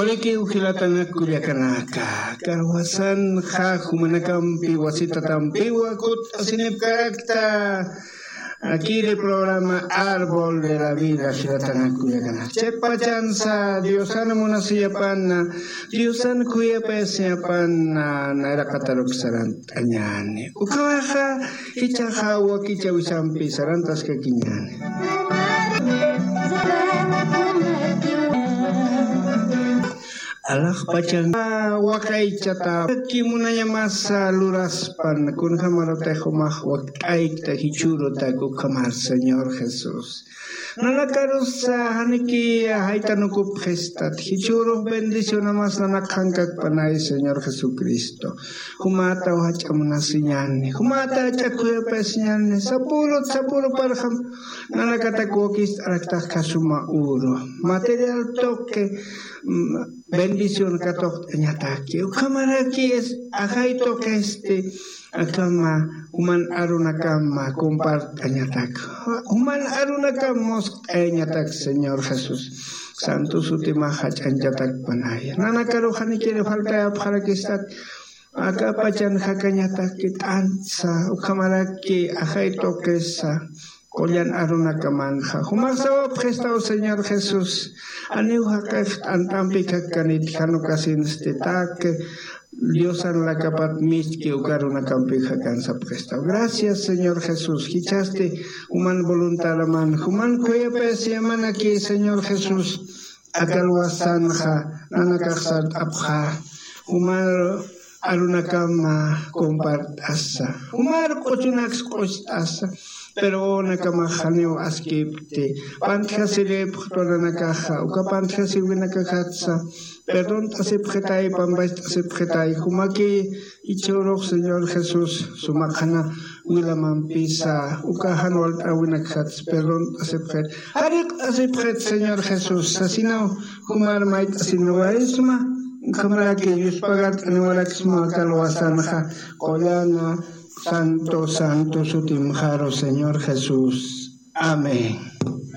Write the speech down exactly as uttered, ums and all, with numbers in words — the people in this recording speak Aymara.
Ikiw jilatanak kullakanaka, karwasanxa jumanakampi wasitatampiwa kut'asinipkarakta. Akiri programa Árbol de la Vida jilatanak kullakanaka. Chepachansa Diosan munasiyapana, Diosan khuyapayasiyapana, nayraqataruk sarant'añani. Ukawaxa, jichaxa wakichawisampi sarantaskakiñani. Alaxpachan waqaychata kimunañamasa luraspan, kunjamarutix umax wakt'aykta jichhurutak ukhamar Señor Jesús. Nanakarusa janiki jaytanukupxistat, jichhürux bendicionamas nanakxankakpanay Señor Jesucristo. Jumataw jach'a munasiñani, jumata jach'a khuyapayasiñani, sapürut sapüruparxam nanakatak wakist'araktax khasuma uru, material tuqi, mm, bendición katuqt'añataki. Ukhamaraki es ajay tuqisti, akama juman arunakama compart'añatak. Juman arunakam muskt'ayañatak Señor Jesús. Santo sutimax jach'añchatakpanaya. Nanakaruxanikiri faltayapxarakistat. Akapachan jakañatak t'antsa, ukhamaraki ajay tuqisa. Qullan arunakamanxa. Jumax sawapxistaw Señor Jesús. Janiw jaqix t'ant'ampi jakkanit, jan ukasinsti taqi Diosan lakapat miski uka arunakampi jakkansapxistaw. Gracias Señor Jesús. Jichhasti juman voluntadaman, juman khuyapayasiyamanaki Señor Jesús. Aka alwasanxa nanakax sart'apxä, jumar arunakama compart'asa, jumar q'uchunaks q'ucht'asa, pero nakamax janiw askipti, pantjasiripxtwa nanakaxa, uka pantjasiwinakakatsa, perdont'asipxitay, pampacht'asipxitay, jumaki jichhürux Señor Jesús, suma qhana wilamampisa, uka jan walt'äwinakjats perdont'asipxit, jariqt'asipxit Señor Jesús, sasinaw jumar mayt'asiniwarisma, ukhamaraki yuspagart'aniwaraksma aka alwasanxa, qullana, santo, santo sutimxaru Señor Jesús. Amén.